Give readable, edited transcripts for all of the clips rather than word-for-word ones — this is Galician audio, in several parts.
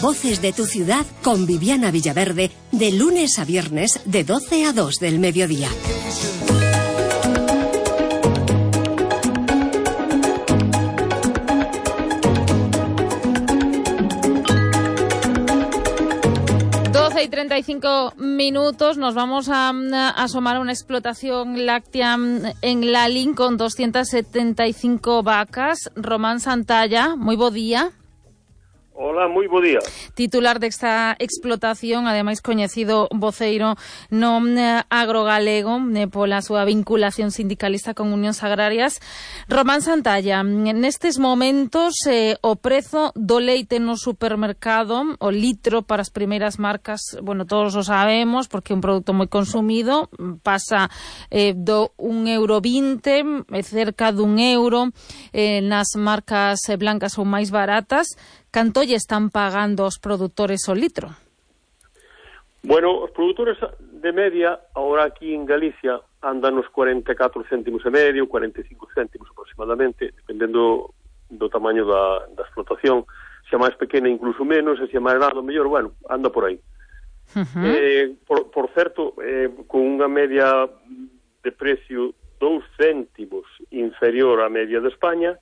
Voces de tu ciudad con Viviana Villaverde, de lunes a viernes de 12 a 2 del mediodía. Y 35 minutos, nos vamos a asomar a una explotación láctea en Lalín con 275 vacas. Román Santalla, moi bo día. Hola, moi bo día. Titular desta explotación, ademais coñecido voceiro no agrogalego pola súa vinculación sindicalista con unións agrarias. Román Santalla, nestes momentos o prezo do leite no supermercado, o litro para as primeiras marcas, bueno, todos o sabemos porque é un produto moi consumido, pasa do 1,20 €, cerca dun euro, nas marcas blancas ou máis baratas. Canto lle están pagando os produtores o litro? Bueno, os produtores de media, ahora aquí en Galicia, andan nos 44 céntimos e medio, 45 céntimos aproximadamente, dependendo do tamaño da explotación. Se é máis pequena, incluso menos, e se é máis grande, mellor, bueno, anda por aí. Por certo, con unha media de precio 2 céntimos inferior á media de España,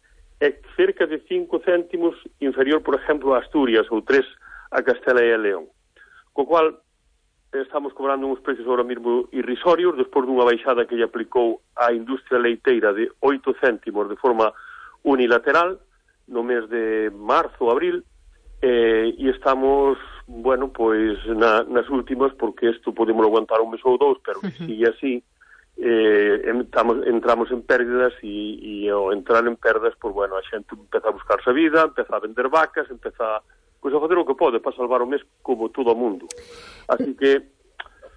é cerca de 5 céntimos inferior, por exemplo, a Asturias, ou 3 a Castela e a León. Co cual, estamos cobrando uns precios ahora mesmo irrisorios, despois dunha baixada que lle aplicou á industria leiteira de 8 céntimos de forma unilateral, no mes de marzo, abril, e estamos, bueno, pois nas últimas, porque isto podemos aguantar un mes ou dous, pero que sigue así, entramos en pérdidas e ao entrar en pérdidas, pues bueno, a xente empeza a buscarse a vida, empeza a vender vacas, empeza a facer o que pode para salvar o mes como todo o mundo. Así que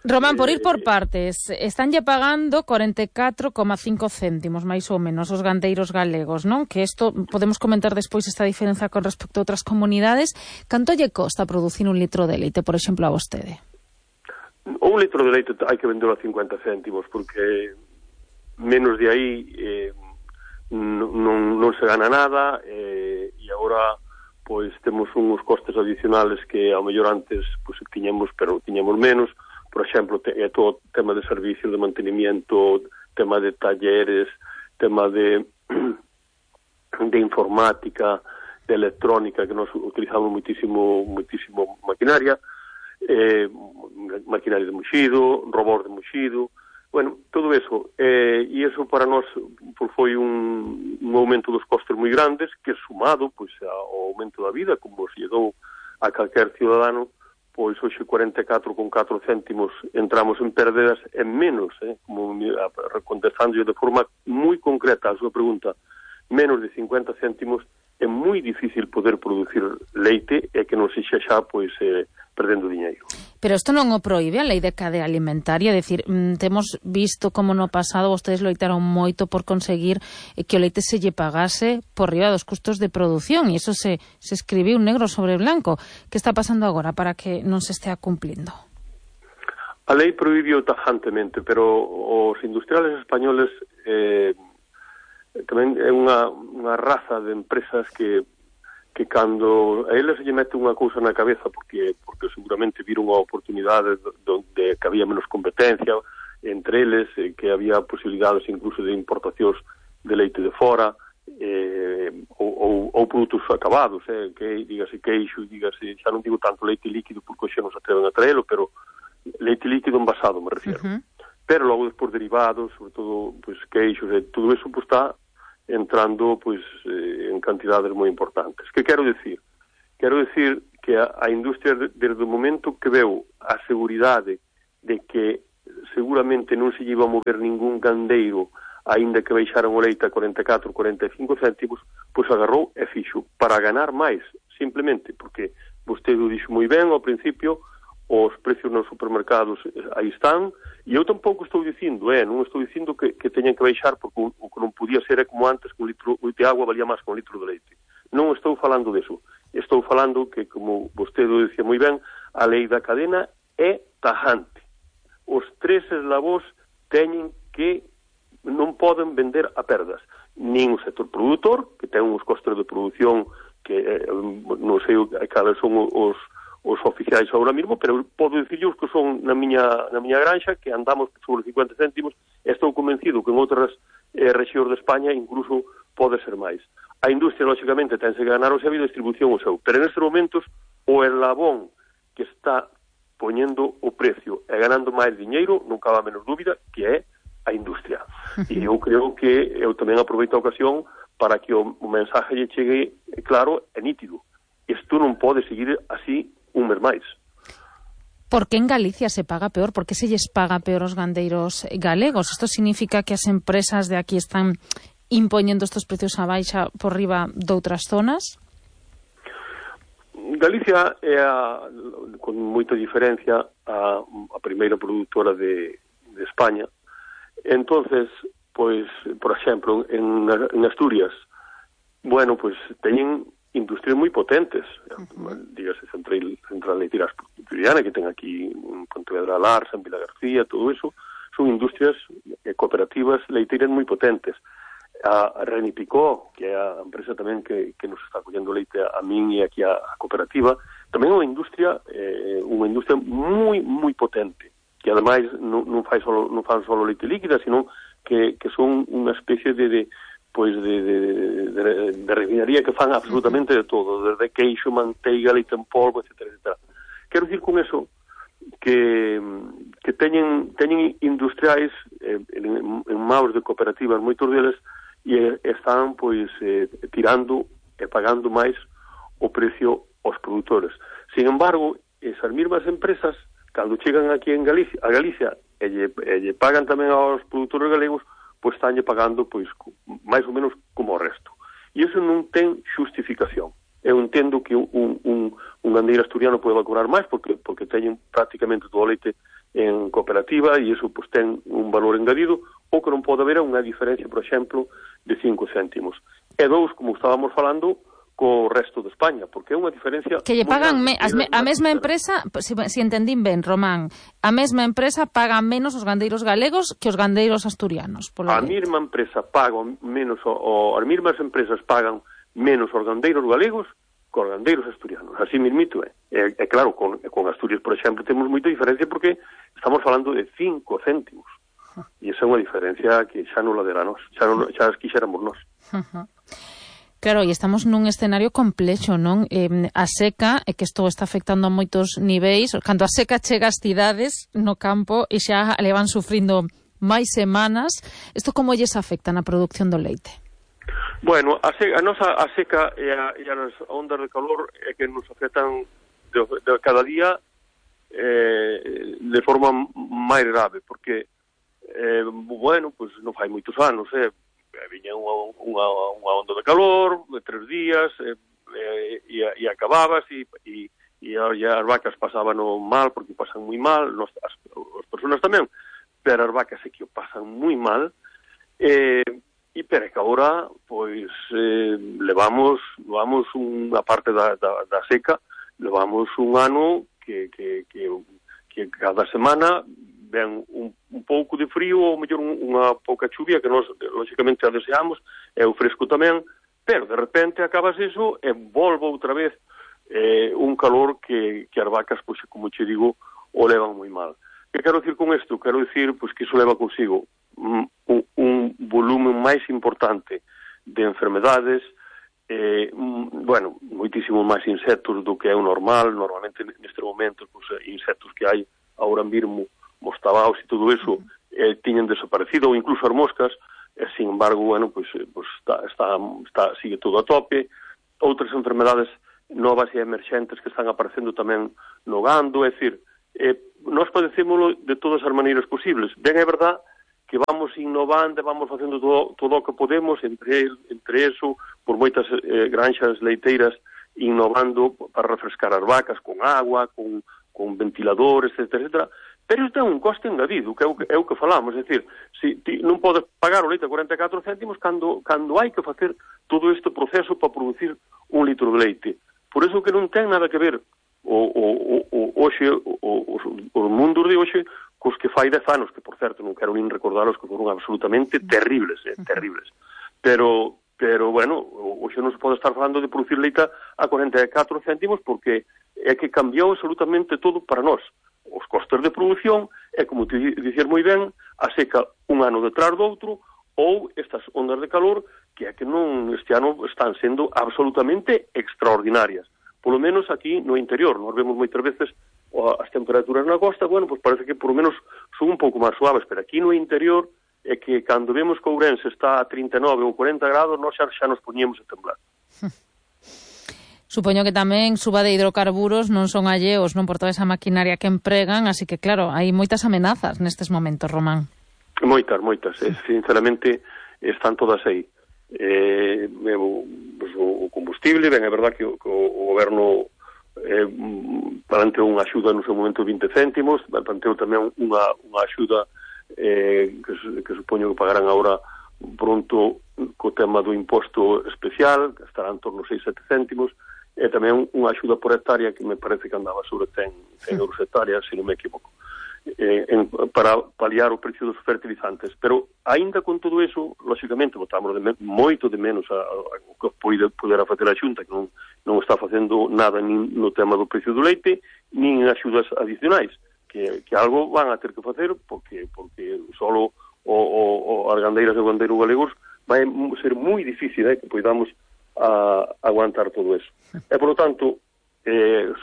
Román, por ir por partes, estánlle pagando 44,5 céntimos, máis ou menos, os gandeiros galegos, non? Que isto, podemos comentar despois esta diferenza con respecto a outras comunidades. Canto lle costa producir un litro de leite, por exemplo, a vostede? Un litro de leite hai que vendelo a 50 céntimos, porque menos de aí non se gana nada, e agora pois temos uns costes adicionales que ao mellor antes pois tiñemos, pero tiñemos menos. Por exemplo, é todo tema de servicio, de mantenimiento, tema de talleres, tema de informática, de electrónica, que nos utilizamos muitísimo maquinaria, maquinaria de muxido, robor de muxido, bueno, todo eso, e eso para nós foi un aumento dos costes moi grandes, que sumado pois ao aumento da vida, como se llegou a calquer cidadano, pois hoxe 44,4 céntimos entramos en pérdidas en menos, como contestando de forma moi concreta a súa pregunta, menos de 50 céntimos é moi difícil poder producir leite e que non se xa pois perdendo diñeiro. Pero isto non o proíbe a lei de cadea alimentaria, é dicir, temos visto como no pasado vostedes loitaron moito por conseguir que o leite se lle pagase por riba dos custos de produción, e iso se escribiu negro sobre blanco. Que está pasando agora para que non se estea cumplindo? A lei prohibiu tajantemente, pero os industriales españoles tamén é unha raza de empresas que cando a eles se lle mete unha cousa na cabeza, porque seguramente viron a oportunidade donde que había menos competencia entre eles, que había posibilidades incluso de importacións de leite de fora, ou produtos acabados, que dígase queixo, dígase, xa non digo tanto leite líquido porque xa non se atreven a traelo, pero leite líquido envasado me refiero. Pero logo despois derivados, sobre todo pues, queixos, todo eso pues, está entrando pues en cantidades moi importantes. Que quero decir? Quero decir que a industria desde o momento que veu a seguridade de que seguramente non se iba a mover ningún gandeiro aínda que baixaran o leite a 44, 45 céntimos, pois agarrou e fixo para ganar máis, simplemente porque vostede o dixo moi ben ao principio, os precios nos supermercados aí están, e eu tampouco estou dicindo, non estou dicindo que teñan que baixar, porque o que non podía ser é como antes, que un litro de agua valía máis que un litro de leite. Non estou falando deso. Estou falando que, como vostede o dicía moi ben, a lei da cadena é tajante. Os tres eslabós teñen que non poden vender a perdas. Nin o sector produtor, que ten uns costos de produción que non sei cales son os os oficiais agora mesmo, pero podo dicirlle os que son na miña granxa, que andamos sobre 50 céntimos, e estou convencido que en outras rexións de España incluso pode ser máis. A industria, lógicamente, tense que ganar o seu e a distribución o seu, pero nestes momentos o eslabón que está poñendo o precio e ganando máis diñeiro, non cabe a menos dúbida, que é a industria. E eu creo que eu tamén aproveito a ocasión para que o mensaje lle chegue claro e nítido. Isto non pode seguir así un mes máis. Por que en Galicia se paga peor? Por que se lles paga peor aos gandeiros galegos? Isto significa que as empresas de aquí están impoñendo estos precios a baixa por riba de outras zonas? Galicia é, con moita diferencia, a primeira produtora de España. Entonces, pois, por exemplo, en Asturias, bueno, pois teñen industrias moi potentes, dígase Central Leiteira Asturiana, que ten aquí en Pontevedra Larsa, en Vila García, todo eso, son industrias cooperativas leiteiras moi potentes. A Reni Picó, que é a empresa tamén que nos está collendo leite a min e aquí a cooperativa, tamén é unha industria moi potente, que ademais non fan solo leite líquida, sino que son unha especie de refinaría que fan absolutamente de todo, desde queixo, manteiga, leite en polvo, etc. Quero dicir con eso que teñen industriais en maus de cooperativas, moitos deles, e están tirando e pagando máis o precio aos produtores. Sin embargo, esas mesmas empresas, cando chegan aquí a Galicia e lle pagan tamén aos produtores galegos, pois estánlle pagando máis ou menos como o resto. E iso non ten xustificación. Eu entendo que un gandeiro asturiano pode cobrar máis porque teñen prácticamente todo o leite en cooperativa e iso ten un valor engadido, ou que non pode haber unha diferencia, por exemplo, de 5 céntimos. E 2, como estábamos falando, co resto de España, porque é unha diferencia... Que lle pagan a mesma empresa, se entendín ben, Román, a mesma empresa paga menos os gandeiros galegos que os gandeiros asturianos. A mesma empresa paga menos, as mesmas empresas pagan menos os gandeiros galegos que os gandeiros asturianos. Así mismito é. E claro, con Asturias, por exemplo, temos moita diferencia porque estamos falando de 5 céntimos. E esa é unha diferencia que xa non la dera nós, xa as quixéramos nós. Claro, e estamos nun escenario complexo, non? A seca, é que isto está afectando a moitos niveis. Cando a seca chega ás cidades no campo e xa le van sufrindo máis semanas, isto como lles afecta na produción do leite? Bueno, a seca e as ondas de calor é que nos afectan de cada día de forma máis grave, porque bueno, pois non fai moitos anos, viña unha onda de calor de 3 días e acababas e as vacas pasaban mal porque pasan moi mal, as persoas tamén, pero as vacas é que o pasan moi mal e pero que agora pois levamos unha parte da seca, levamos un ano que cada semana ven un pouco de frío ou mellor unha pouca chuvia que nós lógicamente a deseamos, é o fresco tamén, pero de repente acabas iso e volvo outra vez un calor que as vacas, pois, como che digo, o levan moi mal. Que quero dicir con isto? Quero dicir pois, que iso leva consigo un volumen máis importante de enfermedades, bueno, moitísimo máis insectos do que é o normal. Normalmente neste momento pois, insectos que hai agora mesmo, os tabaos e todo eso tiñen desaparecido, ou incluso as moscas, sin embargo, bueno, pues sigue todo a tope. Outras enfermedades novas e emerxentes que están aparecendo tamén no gando, é dicir, nós padecémolo de todas as maneiras posibles. Ben, é verdad que vamos innovando, vamos facendo todo o que podemos, entre eso, por moitas granxas leiteiras, innovando para refrescar as vacas con agua, con ventiladores, etc. Pero isto é un coste engadido, que é o que falamos, é dicir, si ti non podes pagar o leite a 44 céntimos cando hai que facer todo este proceso para producir un litro de leite. Por iso que non ten nada que ver os mundos de hoxe cos que fai 10 anos, que por certo non quero nin recordaros que foron absolutamente terribles, terribles. Pero bueno, hoxe non se pode estar falando de producir leite a 44 céntimos porque é que cambiou absolutamente todo para nós. Os costes de produción, é como te dicir moi ben, a seca un ano detrás do outro, ou estas ondas de calor que é que non este ano están sendo absolutamente extraordinarias. Polo menos aquí no interior, nós vemos moitas veces as temperaturas na costa, bueno, pues parece que por lo menos son un pouco máis suaves, pero aquí no interior é que cando vemos que Ourense está a 39 ou 40 grados, nós xa nos poñemos a temblar. Supoño que tamén suba de hidrocarburos non son alleos, non, por toda esa maquinaria que empregan, así que claro, hai moitas amenazas nestes momentos, Román. Moitas, sinceramente están todas aí. O combustible, ben, é verdad que o goberno planteou unha axuda no seu momento de 20 céntimos, planteou tamén unha axuda que supoño que pagarán agora pronto co tema do imposto especial, que estará en torno a 6-7 céntimos, e tamén unha axuda por hectárea que me parece que andaba sobre 100 euros hectárea, se non me equivoco, para paliar o precio dos fertilizantes. Pero, aínda con todo eso, lóxicamente, botamos moito de menos o que poder facer a Xunta, que non está facendo nada nin no tema do precio do leite, nin axudas adicionais, que algo van a ter que facer, porque solo as gandeiras e gandeiros galegos vai ser moi difícil que podamos aguantar todo eso. E, por lo tanto,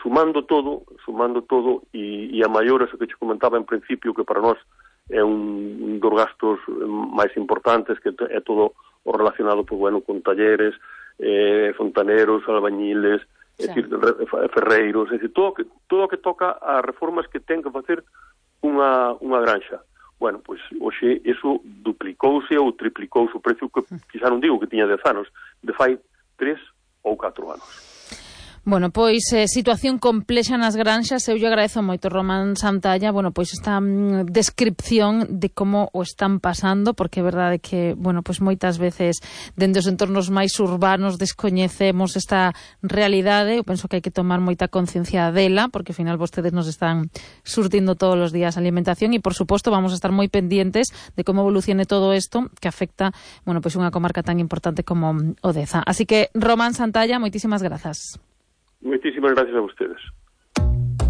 sumando todo e a maior, eso que te comentaba en principio, que para nós é un dos gastos máis importantes, que é todo o relacionado con talleres, fontaneros, albañiles, ferreiros, todo o que toca a reformas que ten que facer unha granxa. Bueno, pois hoxe iso duplicouse ou triplicouse o precio, que quizá non digo que tiña 10 anos, de fai 3 ou 4 anos. Bueno, pois situación complexa nas granxas. Eu lle agradezo moito, Román Santalla, bueno, pois esta descripción de como o están pasando, porque é verdade que, bueno, pois moitas veces dende os entornos máis urbanos descoñecemos esta realidade. Eu penso que hai que tomar moita conciencia dela, porque ao final vostedes nos están surtindo todos os días alimentación e, por suposto, vamos a estar moi pendientes de como evolucione todo isto que afecta, bueno, pois unha comarca tan importante como Odeza. Así que, Román Santalla, moitísimas grazas. Muchísimas gracias a ustedes.